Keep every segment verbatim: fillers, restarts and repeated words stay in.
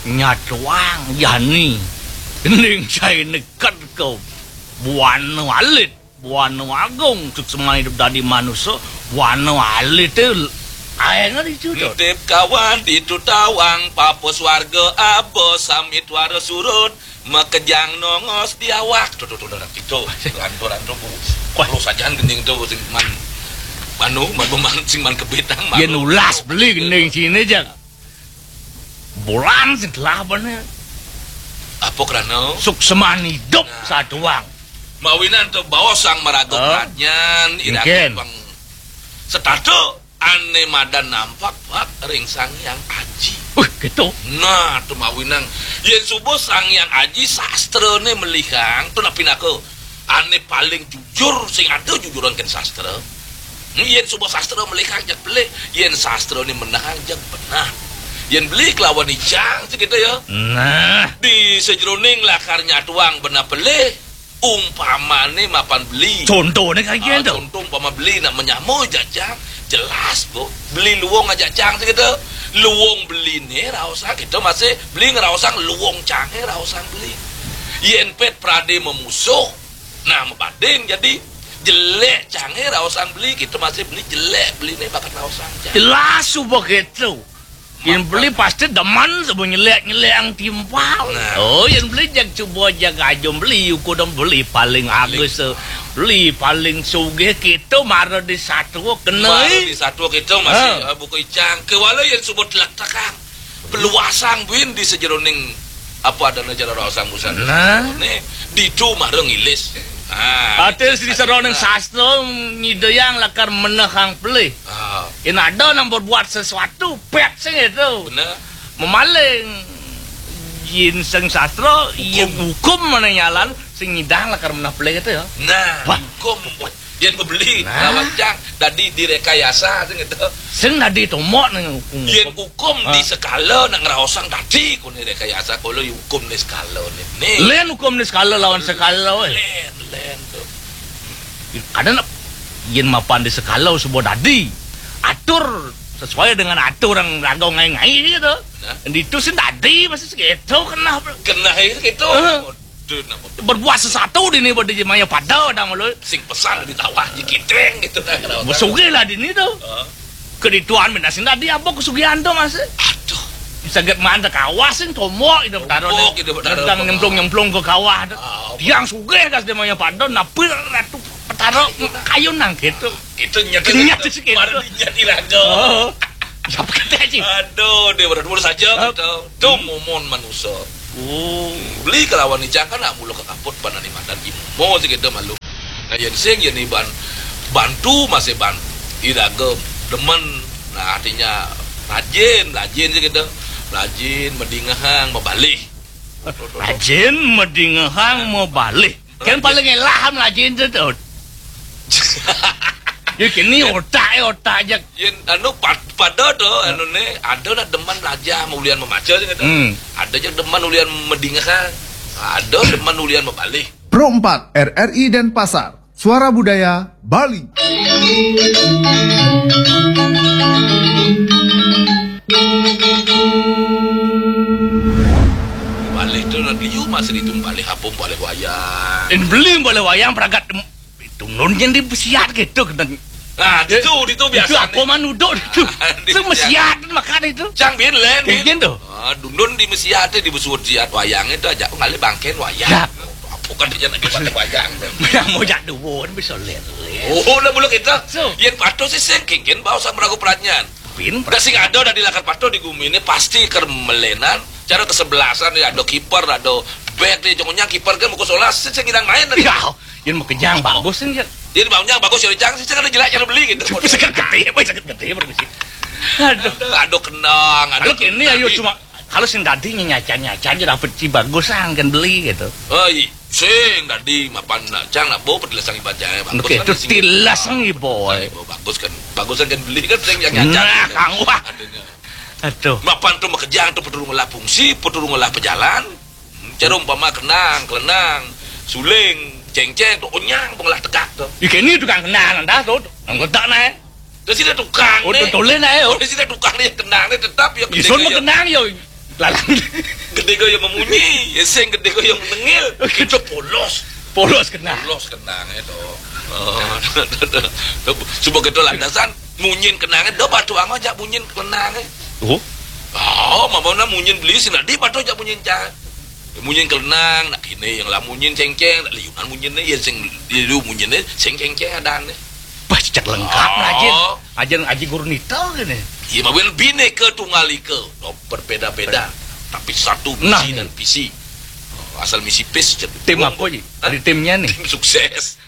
Nyatuang jani. Gending cai neked ke buana alit, buana agung, suksman idup dadi manusa, buana alit té aéng ditu, Dot. Nitip kawan ditu tawang, papa swarga aba, sami tuara surut, makejang nongos di awak. Tuh, tuh, tuh, tuh, tuh, tuh, tuh, tuh, Bu. Wah. Lu sajan gending tuh, sing man, manu, man, man, sing man kebitang, yén manu. Ulas beli gending sini, Jang. Bulan sing telah bana. Apa krana? Suksman idup. Nah. Satuang. Mawinan to baos sang maraga. Oh. Pradnyan, mungkin. Iraga pang setata ané madan nampak, Pak, ring Sang Hyang Aji. Uh, gitu. Nah, to mawinan. Yén suba Sang Hyang Aji sastrané melihang, to napi naka? Ané paling jujur, sing ada jujuran kén sastra. Hmm, yén suba sastra melihang jeg pelih, yén sastrané menehang jeg beneh. Yén beli kelawan icang, segitu ya. Nah. Di sajeroning lakar nyatuang beneh pelih, umpamané mapan beli. Contohné kayak gitu. Ah, contoh umpama beli nak menyama jajang, jelas, Bu. Beli luung jajang, segitu. Luung beliné raosang, kita masih beli ngeraosang luung cangé raosang beli. Yén pét pradé memusuh, nah, mabanding jadi jelék cangé raosang beli, kita masih beli jelék beliné bakat raosang cang. Jelas suba gitu. Yén beli pasti demen suba nyelék-nyelékang timpal. Nah. Oh, yén beli jag suba jag aja beli, uku dong beli paling agus, beli paling sugih, kita mara di satua kena. Mara di satua kita masih, ah, buka icang. Kéwala yén suba telek-telekang. Peluasang buin di sajeroning apa adana cara raosang busana. Nah. Né, ditu mara ngilis. Ah, até di sajeroning sastra nyidayang lakar menehang pelih. Ah. Yén ada nang berbuat sesuatu, pét sing itu. Bener. Memaling. Yén sing sastra, hukum. Hukum mana nyalan, sing nyidang lakar meneh pelih itu ya. Nah, wah. Hukum. Yén bebeli, nah, lawan cang, dadi direkayasa, sing gitu. Sing dadi tomok né hukum. Yén hukum, ah, di sekala nak ngraosang dadi, koné rekayasa, kala hukum né sekala né. Né. Lén hukum né sekala lawan sekala, wéh. Lén, lén to. Kadén yén mapan di sekala suba dadi. Atur sesuai dengan aturan raga ngai-ngai gitu. Nah. Ditu sing dadi, masih segitu keneh. Keneh itu gitu. Heeh. Berbuat sesuatu dini pada maya pada dah mulu. Sing pesan di tawah je kitreng gitu dah. Sugih lah dini tu. Heeh. Kedituan bina sing dadi apa kesugihan tu masih? Aduh. Saget maan ka kawah sing tomok itu betara. Tomok itu betara. Nyemplung-nyemplung ka kawah tu. Ah, apa? Tiang sugih kas dia maya pada, napi ratu betara kayu nang gitu. Itu nyata. Nyata sikit. Baru dinyati raga. Oh. Siapa kata sih? Aduh, dia berat mulu saja gitu. Tu momon manusia. Oh. Beli kelawan icang kan nak mula ke kaput panani madan imo sih gitu malu. Nah, yén sing yén iban bantu masih ban iraga demen. Nah, artinya rajin, rajin sih gitu. Rajin, madingehang, mabalih. Rajin, madingehang, mabalih. Kan paling elah am lajin tu, Tut. Ya kini otak, eh, otak jak. Yén anu pad-, pada tu, anu né, ada nak demen belajar, maulian memaca je kata. Hmm. Ada je demen ulian madingehan. Ada demen ulian mabalih. Pro empat R R I Denpasar, Suara Budaya Bali. Balih tu nak liu masih ditu balih apa balih wayang. Yén beli balih wayang pragat dem-, itu nun yang di mesiat gitu kena. Nah, ditu, ditu biasa. Itu apa man uduk ditu? Ah, di mesiat. Mesiat makan itu. Cang bin lén, bin. Bin tu. Ah, dundun di mesiat tu, di besuat siat wayang itu aja ngalih bangkén wayang. Ya. Apa kan dia nak balih wayang tu? Yang mau jak duun bisa lén-lén. Oh, lah bulu kita. So. Yén patuh sih sing kingkin bawa sama ragu peranyan. Pin. Dah sing ada dah di lakar patuh di gumi ini pasti ker melénan. Cara kesebelasan ya, ada kiper, ada back di jongnya kiper kan muka solas sing ngidang main tadi. Ya, yén makejang bagus kan ya. Jadi baunya bagus ya, cang sih ada jelek cara beli gitu. Sakit gede, boy, sakit gede, permisi. Aduh. Aduh, kenang, aduh. Kalau kini ayo cuma kalau sing dadi nyacan-nyacan je dapet si bagus kan beli gitu. Oh, iya. Sing dadi mapan nak cang nak bawa petilasang iban cang, eh, bagus. Oke, kan itu sing tilasang ibo, eh. Bagus kan, bagus kan beli kan sing yang nyacan. Nah, gitu. Kang, wah. Adanya. Aduh. Mapan tu makejang tu peturung olah fungsi, peturung olah pejalan. Hmm, cara umpama kenang, kelenang, suling, cengceng tu onyang pengolah tegak tu. Ikan ni tukang kenang dah tu. Anggota naik. Terus sida tukang. Oh, ni. Tutulin ae, oh. Oh, sida tukang ni kenang ni tetap ya. Isun mah kenang ya. Lalang. Gedé kaya mamunyi, ya sing gedé kaya menengil. Itu polos. Polos kenang. Polos kenang itu. Oh, coba kita landasan munyin kenangnya, dah batu ama jak munyin kenangnya. Oh. Oh, mama na munyin beli sing tadi batu jak munyin cang. Munyin kenang, nak kini yang lah munyin cengceng, nak liunan munyin ni, ya sing liu munyin ni, sing cengceng ada ni. Pas cek lengkap, oh. Rajin. Ajar ngaji guru nita gini. Iya, mawin bineka tunggal ika. Oh, berbeda-beda. Tapi satu misi nah, dan visi. Oh, asal misi pis je. Tim apa je? Ada timnya nih. Tim sukses.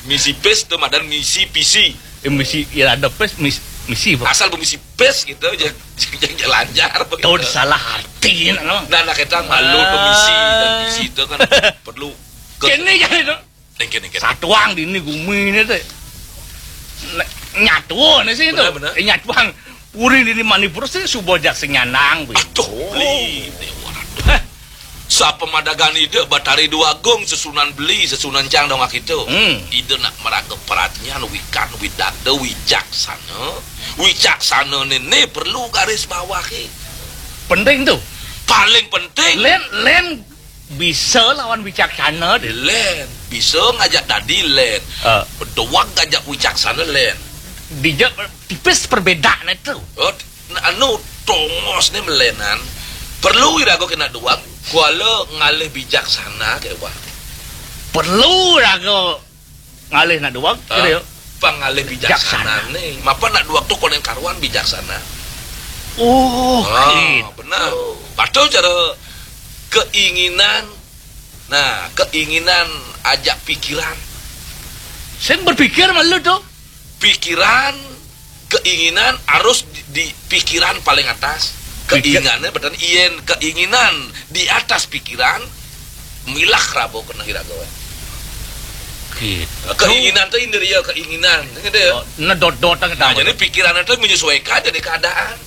Misi pis tu madan misi visi. Eh, misi, ya ada pis, mis, misi apa? Asal misi pis gitu aja. Jangan lancar. Tahu salah arti, no? Nah, nak kita malu ah. Misi dan visi itu kan perlu. Kini jadi tu. Satuang dini gumi ni tu. Nyatuan ni sih tu. Benar, benar. Eh, nyatuan. Puri dini Manipur sih suba jak sing nyanang. Aduh, beli. Hah? Sapa madagan ida Batari Dua Agung, sesunan beli, sesunan cang dongak itu. Hmm. Ida nak meraga peratnyan, wikan, widada, wicaksana. Wicaksana ni, ni perlu garis bawahi. Penting tu. Paling penting. Len, len bisa lawan wicaksana deh. Len, bisa ngajak dadi len. Ah. Doang ngajak wicaksana len. Dija tipis perbedaan itu. Oh, anu tongos ni melenan. Perlu iraga kena doang. Kuala ngalih bijaksana ke wah. Perlu iraga ngalih nak doang, ah, gitu ya. Pangalih bijaksana ni. Mapa nak doang tu konen karuan bijaksana. Oh, ah, gitu. Benar. Patut cara keinginan. Nah, keinginan ajak pikiran. Sing berpikir malu tu. Pikiran, keinginan harus di, di pikiran paling atas. Pikir- keinginannya betul. Yen keinginan di atas pikiran, milah rabo kena iraga. Gitu. Keinginan tu indria keinginan. Gitu ya. Oh, nedot-dot. Nah, jadi pikiran itu menyesuaikan jadi keadaan.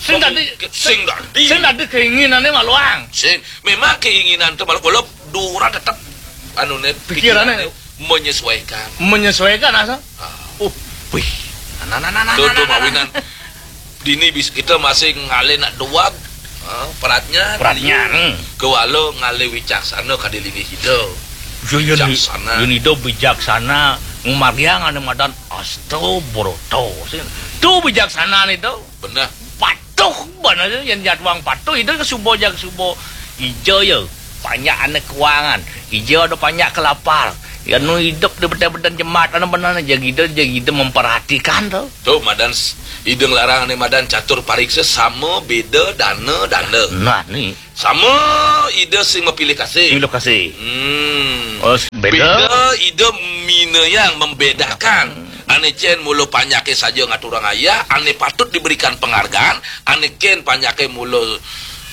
Sing tadi, sing tadi. Sing tadi keinginannya maluang. Sing, memang keinginan tu malu kalau dura tetap anu ne pikirannya menyesuaikan. Menyesuaikan asal. Ah. Oh, wih. Nah, nah, nah, nah, tuh, nah, tuh, nah, mawinan. Dini bis kita masih ngalih nak doang. Ah, peratnya, peratnya, hmm. Kewala ngalih wicaksana kadi linggih kita. Yo, yo, wicaksana. Yo, ida bijaksana, ngumariang ane madan asta brata. Tu bijaksana ni tu. Benar. Patuh benar tu, yang jadwang patuh, ida ke suba jak suba. Ija ya, banyak ane keuangan. Ija ada banyak kelapar. Ya, nu hidup di beden-beden jemaat, anu benar, jagida, jagida memperhatikan tu. Tu, madan s-, ida ngelarang ni madan catur pariksa sama beda dana, dana. Nah, ni. Sama ida sing mapilih kasih. Pilih kasih. Hmm. Oh, beda. Beda ida minayang membedakan. Hmm. Ane cen mula panyake saja ngaturang ayah, ane patut diberikan penghargaan, ane ken panyake mula,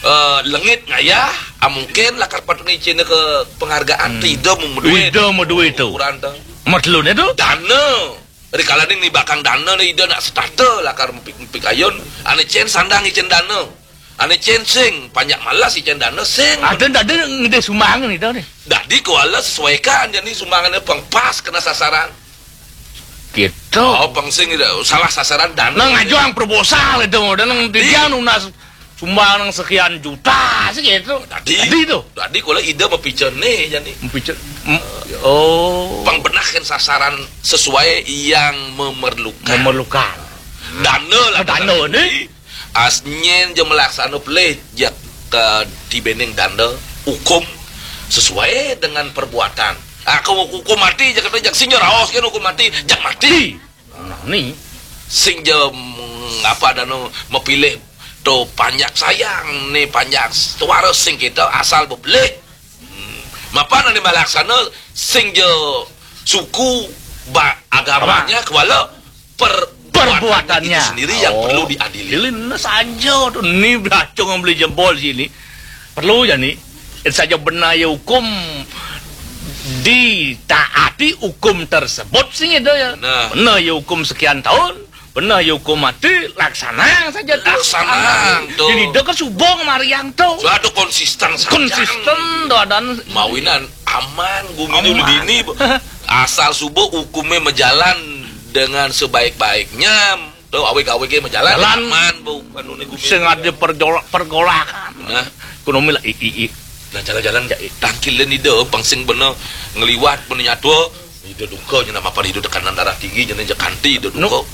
eh, lengit ngayah, ah, mungkin lakar patut ni cen ke penghargaan. Hmm. Ida memeduit. Ida memeduit tu. Ukuran tu. Matlune tu? Dana. Rikalaning nibakang dana ni ida nak setata lakar mepik-, mepikayun. Ane cen sandang icen dana. Ane cen sing, panjak malas icen dana sing. Ada, ada ngedeh sumbangan ida ni. Dadi kuala sesuaikan jani sumbangannya pang pas kena sasaran. Gitu. Oh, pang sing ida salah sasaran dana. Nang ajuang proposal itu, dan nang tiga nunas sumbang nang sekian juta sih gitu. Dadi, dadi tu. Dadi kuala ida mapica ni jani. Mapica. Oh. Pang benahkan sasaran sesuai yang memerlukan. Memerlukan. Dana lah. Dana ni. As nyen je melaksana pelih jak ke tibening danda hukum sesuai dengan perbuatan. Ah, ke hukum mati je kata jak sinjo raos kan hukum mati, jak mati. Nah, ni. Sing je, mm, apa danu mepilih tu panjak sayang ni panjak suara sing kita asal bebelih. Hmm. Mapan ane malaksana sing je suku ba-, agamanya kuala per-, perbuatannya itu sendiri yang perlu diadili. Dilin saja tu ni belacung beli jempol sini. Perlu jani. Saja benar ya hukum ditaati hukum tersebut sing itu ya. Benar. Benar ya hukum sekian tahun. Benar ya hukum mati, laksanang saja tu. Laksanang tu. Jadi dia kan suba ngemariang tu. Suatu konsisten saja. Konsisten tu adan. Mawinan aman gumi dulu dini. Asal suba hukumnya berjalan dengan sebaik-baiknya. Oh, awig-awige mah jalan. Jalan. Aman, Bu. Anu ne gumi. Sing ada perjolak-, pergolakan. Nah. Ekonomi lah, i, i, i. Nah, jalan-jalan, tangkilin ida, pang sing bena ngliwat, bena nyatua. Ida duka, nya nama pan ida tekanan darah tinggi, nya nya kanti ida duka.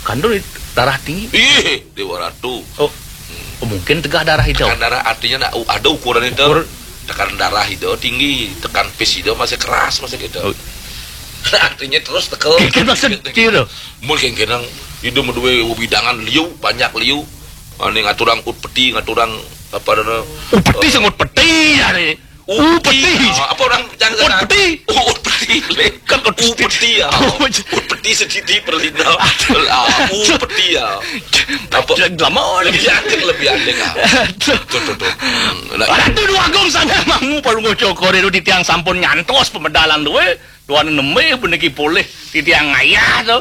Kandun darah tinggi? Ih, Dewa Ratu. Oh. Oh, mungkin tegah darah ida. Tekan darah artinya nak u-, ada ukuran ida. Ukur. Tekan darah ida tinggi, tekan pis ida masih keras, masih gitu. Oh. Artinya terus tekel. Kan maksud gitu. Mun kengkenang ida maduwe wewidangan liu, banyak liu. Ane ngaturang ut peti, ngaturang apa dana? Ut peti, eh, sing ut peti ya ni. Ut peti. Ah, apa orang jangan ut peti. Oh, ut peti. Kan ut peti ya. Ut peti sedidi perlina. Ah, ut peti ya. Apa? Lama lebih antik, lebih antik, ah. Tuh, tuh, tuh. Hmm, nah, Ratu Dwagung sana mangu palungguh cokor itu di tiang sampun nyantos pemedalan duwe. Tuan nembe puniki polih titiang ngayah to.